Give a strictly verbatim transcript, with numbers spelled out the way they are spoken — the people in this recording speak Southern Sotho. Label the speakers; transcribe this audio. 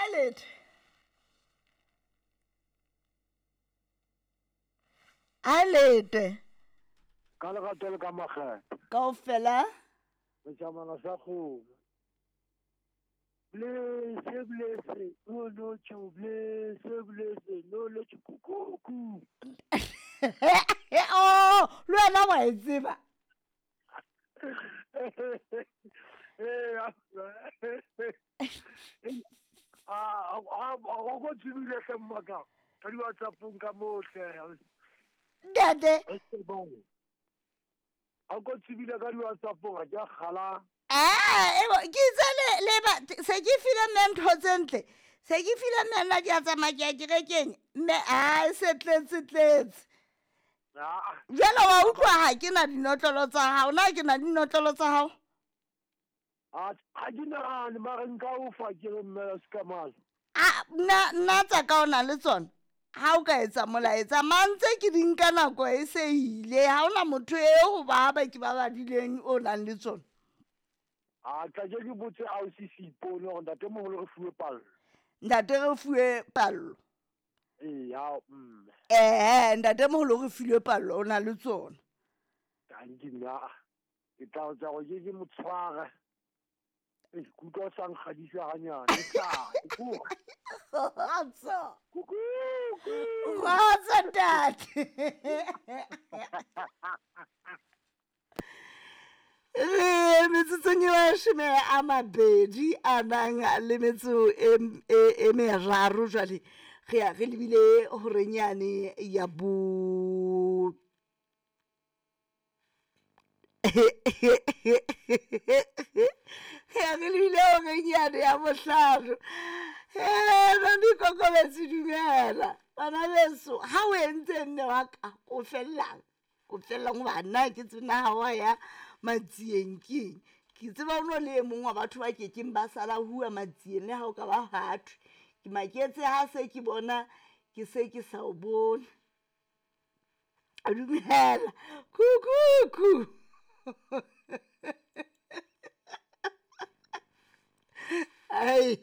Speaker 1: Alete. Alete.
Speaker 2: Ka lerato le ka makgethe.
Speaker 1: Kaofela.
Speaker 2: Setšhamana sa kgomo. Blese blese no no tšo blese blese no no tšo kukuku.
Speaker 1: Oh, le wena wa e tseba.
Speaker 2: Ah, ah, o go tsebile hle mmaka. Ka di WhatsApp-ong ka mo hle.
Speaker 1: Ntate.
Speaker 2: A go tsebile ka di WhatsApp-ong ga ke a kgala.
Speaker 1: Ah, ke itse le le ba se ke file mme ntho tse ntle. Se ke file mme nna ke a tsamaya ke ya kerekeng. Mme a se tletse tletse.
Speaker 2: Ah.
Speaker 1: Jwale wa utlwa ha ke na dinotlolo tsa hao. Na ke na dinotlolo tsa hao?
Speaker 2: A ha ke nahane mare nka o fa ke re mme se ka mala.
Speaker 1: Ah, nna nna tsa ka o na le tsona. Ha o ka etsa molaetsa mantse ke di nka nako e se ile. Ha hona motho eo ho ba ba ke ba badileng o nang le tsona.
Speaker 2: A tla ke ke botse ausi Seipone hore ntatemoholo re fuwe pallo.
Speaker 1: Ntate re fuwe pallo.
Speaker 2: Ee, ya mme.
Speaker 1: Eh, ntatemoholo re filwe pallo o na le tsona.
Speaker 2: Tanki nna. Ke tla tsa go ke ke mo tshwara. E kutlwa o sa nkgadisa hanyane. Tla,
Speaker 1: Kgotso.
Speaker 2: Kuku.
Speaker 1: Kgotso ntate. Re metsotsong e mashome a mabedi a nang le metso e, e, e meraro jwale re ya re lebile horeng yane ya bo re ya re lebile horeng yane ya bohlano. Mami Kokobetsi dumela bana beso ha o entse mme wa ka o fellang o fellang hoba nna ke tsena ha wa ya matsieng keng ke tseba o no le e mong wa batho ba kekeng ba sala hua matsieng le ha o ka ba hathwe ke maketse ha se ke bona ke se ke sa o bone. Dumela kukuku. Ai.